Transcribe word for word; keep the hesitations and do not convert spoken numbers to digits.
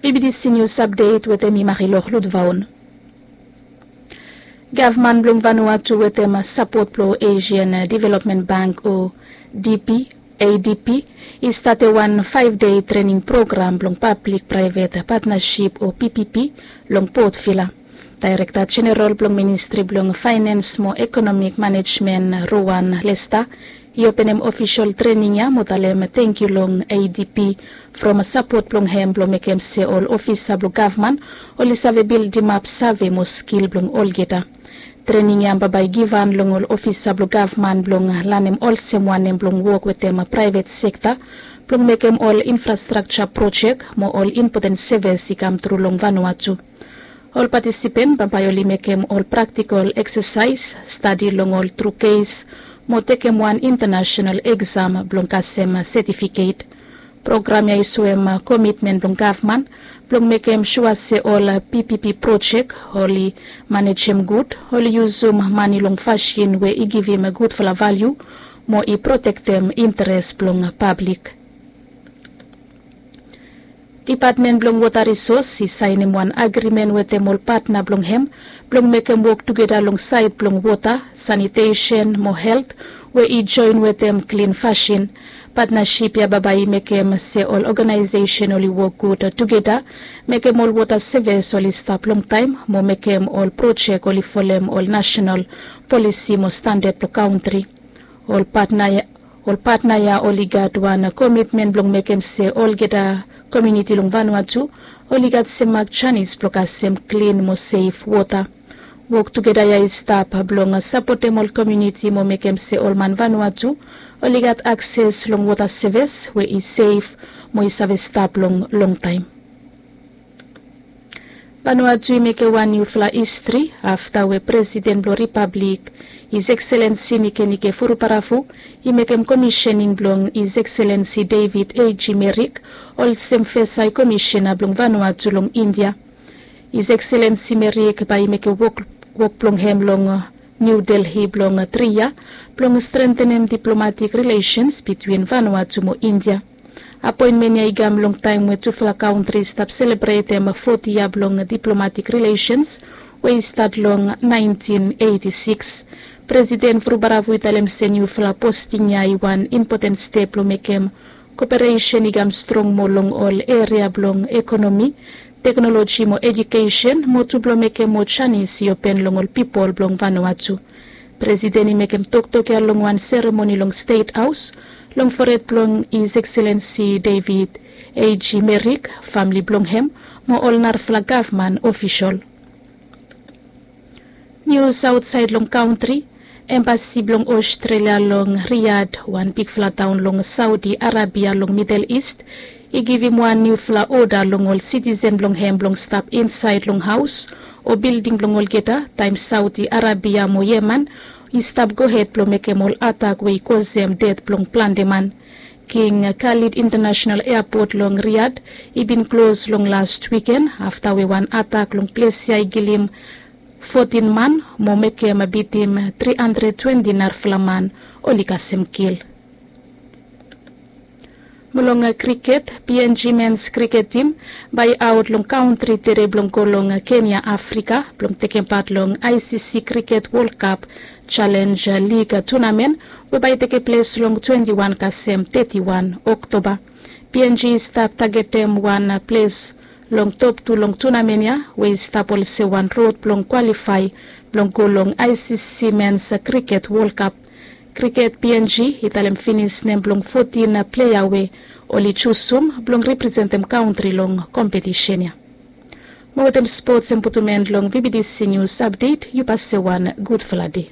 Bibidisi nius apdet wetem i marilok lutvaon. Gavman blong Vanuatu wetem sapot blong Asian Development Bank o D P, A D P, i starte wan faef dei trening program blong pablik praevet patnasip o P P P long Port Vila. Daerekta Jeneral blong Ministri blong Faenens mo Ekonomik Manejmen, Rowan Lesta, i openem ofisol trening ya mo talem tengkiu long A D P from sapot blong hem blong mekem se ol ofisa blong gavman oli save bildimap save mo skil blong olgeta. Trening ya bambae i givhan long ol ofisa blong gavman blong lanem olsem wanem blong wok wetem praevet sekta blong mekem ol infrastrakja projek mo ol impoten sevis i kamtru long Vanuatu. Ol patisipen bambae oli mekem ol praktikol eksasaes, stadi long ol tru kes mo tekem wan intanasenal eksam blong kasem setifiket. Program ya i soem komitmen blong gavman blong mekem sua se ol P P P projek oli manejem gud, oli yusum mane long fasin we i givim gudfala valiu mo i protektem interes blong pablik. Dipatmen blong Wota Risos i saenem wan agrimen wetem ol patna blong hem blong mekem wok tugeta long saed blong wota, sanitesen mo helt we i joen wetem klin fasin. Patnasip ya bambae i mekem se ol oganaesesen oli wok gud tugeta, mekem ol wota sevis oli stap longtaem mo mekem ol projek oli folem ol nasenal polisi mo standad blong kantri. Ol patna ya, ol patna ya oli gat wan komitmen blong mekem se olgeta komuniti long Vanuatu oli gat semak janis blong kasem klin mo sef wota. Wok tugeta ya i stap blong sapotem ol komuniti mo mekem se ol man Vanuatu oli gat akses long wota sevis we i sef mo i save stap long longtaem. Vanuatu i mekem wan niufala istri afta we Presiden blong Ripablik, His Excellency Nikenike Vurubaravu, i mekem komisening blong His Excellency David A G Merrick olsem fes Hai Komisena blong Vanuatu long India. His Excellency Merrick bae i mekem wok, wok blong hem long New Delhi blong tri yia blong strengtenem diplomatik rilesens bitwin Vanuatu mo India. Apoenmen ya i kam long taem we tufala kantri i stap selebretem foti yia blong diplomatik rilesens we i stat long naentin eiti sikis. Presiden Vurubaravu i talem se niufala posting ya i wan impoten step blong mekem koperesen i kam strong moa long ol eria blong ekonomi, teknoloji mo ejukesen, mo tu blong mekem moa janis i open long ol pipol blong Vanuatu. Presiden i mekem toktok ya long wan seremoni long Stet Haos long fored blong His Excellency David A G Merrick, famle blong hem mo ol narafala gavman ofisol. Nius aotsaed long kantri. Embasi blong Ostrelia long Riyadh, wan bigfala taon long Saudi Arabia long Midel Ist, i givim wan niufala oda long ol sitisen blong hem blong stap insaed long haos o bilding blong olgeta taem Saudi Arabia mo Yemen i stap gohed blong mekem ol atak we i kosem ded blong plante man. King Khalid International Airport long Riyadh i bin klos long las wiken afta we wan atak long ples ya i kilim fotin man mo mekem bitim tri handred twenti narafala man oli kasem kil. Mo long kriket, P N G mens kriket tim bae i aot long kantri tede blong go long Kenya, Afrika blong tekem pat long I C C Kriket Wol Kap Jalenj Lig tunamen we bae i tekem ples long twenti wan kasem teti wan Oktoba. P N G i stap tagetem wan ples long top tu long tunamen ya we i stap olsem wan rod blong kwalifae blong go long I C C mens kriket Wol Kap. Kriket P N G i talem finis nem blong fotin plea we oli jusum blong representem kantri long kompetisen ya. Mo wetem spots em putum en long V B T C Nius Apdet, yu pase wan gudfala dei.